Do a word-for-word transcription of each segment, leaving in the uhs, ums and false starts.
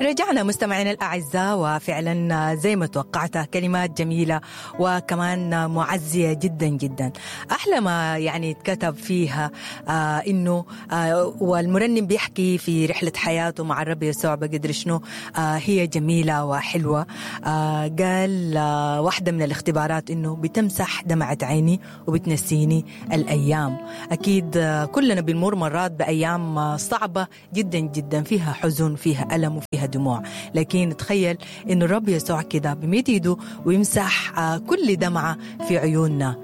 رجعنا مستمعينا الأعزاء، وفعلا زي ما توقعت كلمات جميلة وكمان معزية جدا جدا. أحلى ما يعني اتكتب فيها آه إنه آه والمرنم بيحكي في رحلة حياته مع الرب يسوع بقدر شنو آه هي جميلة وحلوة. آه قال آه واحدة من الاختبارات إنه بتمسح دمعة عيني وبتنسيني الأيام. أكيد آه كلنا بنمر مرات بأيام آه صعبة جدا جدا، فيها حزن، فيها ألم، وفيها دموع، لكن تخيل إنه الرب يسوع كده بمد ايده ويمسح كل دمعة في عيوننا.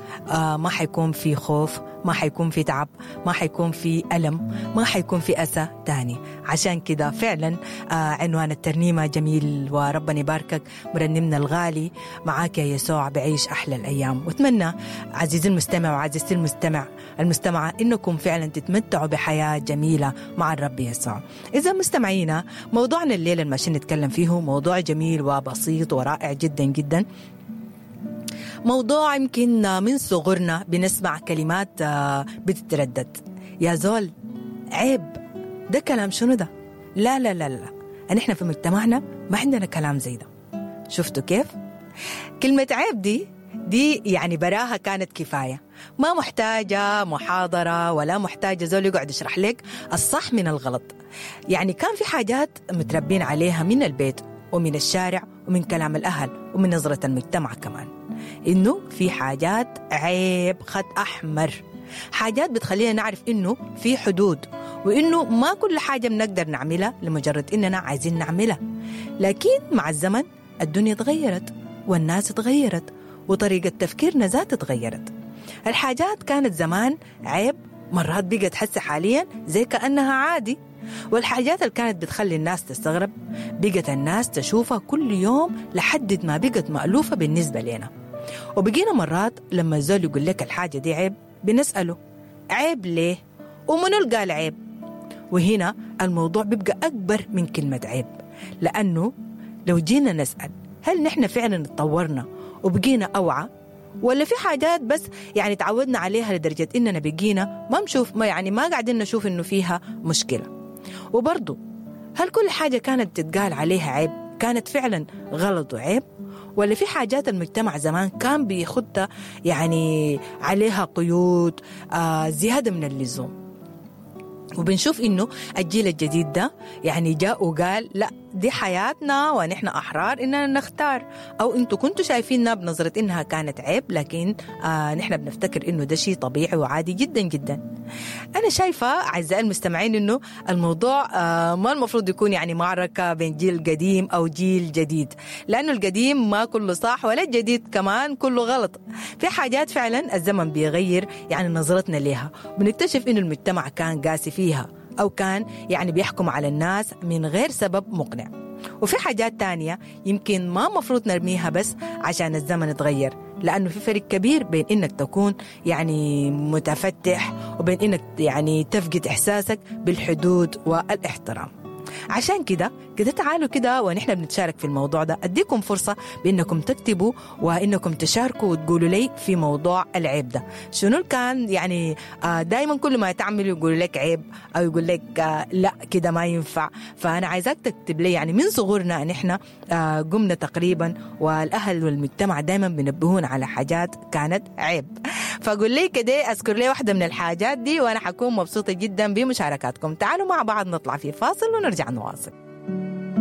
ما حيكون في خوف، ما حيكون في تعب، ما حيكون في ألم، ما حيكون في أسى تاني. عشان كده فعلا عنوان الترنيمة جميل، وربنا يباركك مرنمنا الغالي، معاك يا يسوع بعيش أحلى الأيام. واتمنى عزيزي المستمع وعزيزتي المستمع المستمعة إنكم فعلا تتمتعوا بحياة جميلة مع الرب يسوع. إذا مستمعينا، موضوعنا الليلة الماشيين نتكلم فيه موضوع جميل وبسيط ورائع جدا جدا، موضوع يمكن من صغرنا بنسمع كلمات بتتردد، يا زول عيب، ده كلام شنو ده؟ لا لا لا لا، نحن في مجتمعنا ما عندنا كلام زي ده. شفتوا كيف؟ كلمة عيب دي دي يعني براها كانت كفاية، ما محتاجة محاضرة ولا محتاجة زول يقعد يشرح لك الصح من الغلط. يعني كان في حاجات متربين عليها من البيت ومن الشارع ومن كلام الأهل ومن نظرة المجتمع كمان، إنه في حاجات عيب، خط أحمر، حاجات بتخلينا نعرف إنه في حدود، وإنه ما كل حاجة بنقدر نعملها لمجرد إننا عايزين نعملها. لكن مع الزمن الدنيا تغيرت والناس تغيرت وطريقة تفكيرنا ذات تغيرت. الحاجات كانت زمان عيب، مرات بقت حس حاليا زي كأنها عادي، والحاجات اللي كانت بتخلي الناس تستغرب بقت الناس تشوفها كل يوم لحد ما بقت مألوفة بالنسبة لنا. وبقينا مرات لما الزول يقول لك الحاجة دي عيب بنسأله عيب ليه؟ ومنو اللي قال عيب؟ وهنا الموضوع بيبقى أكبر من كلمة عيب، لأنه لو جينا نسأل هل نحن فعلا اتطورنا وبقينا أوعى، ولا في حاجات بس يعني تعودنا عليها لدرجة إننا بقينا ما نشوف، ما يعني ما قاعدين نشوف إنه فيها مشكلة. وبرضو هل كل حاجة كانت تتقال عليها عيب كانت فعلا غلط وعيب، ولا في حاجات المجتمع زمان كان بيخدها يعني عليها قيود آه زيادة من اللزوم؟ وبنشوف إنه الجيل الجديد ده يعني جاء وقال لا، دي حياتنا ونحن أحرار إننا نختار، أو أنتوا كنتوا شايفيننا بنظرة إنها كانت عيب، لكن آه نحن بنفتكر إنه ده شيء طبيعي وعادي جدا جدا. أنا شايفة أعزائي المستمعين إنه الموضوع آه ما المفروض يكون يعني معركة بين جيل قديم أو جيل جديد، لأنه القديم ما كله صح ولا الجديد كمان كله غلط. في حاجات فعلا الزمن بيغير يعني نظرتنا ليها، بنكتشف إنه المجتمع كان قاسي فيها أو كان يعني بيحكم على الناس من غير سبب مقنع. وفي حاجات تانية يمكن ما مفروض نرميها بس عشان الزمن تغير، لأنه في فرق كبير بين إنك تكون يعني متفتح وبين إنك يعني تفقد إحساسك بالحدود والاحترام. عشان كده كده تعالوا كده ونحن بنتشارك في الموضوع ده، أديكم فرصة بأنكم تكتبوا وإنكم تشاركوا وتقولوا لي في موضوع العيب ده شنو كان يعني. دايما كل ما تعملوا يقولوا لك عيب أو يقول لك لا كده ما ينفع. فأنا عايزاك تكتب لي يعني من صغرنا نحن قمنا تقريبا والأهل والمجتمع دايما بنبهون على حاجات كانت عيب. فقول لي كده أذكر لي واحدة من الحاجات دي وأنا حكون مبسوطة جدا بمشاركاتكم. تعالوا مع بعض نطلع في فاصل ونرجع نواصل.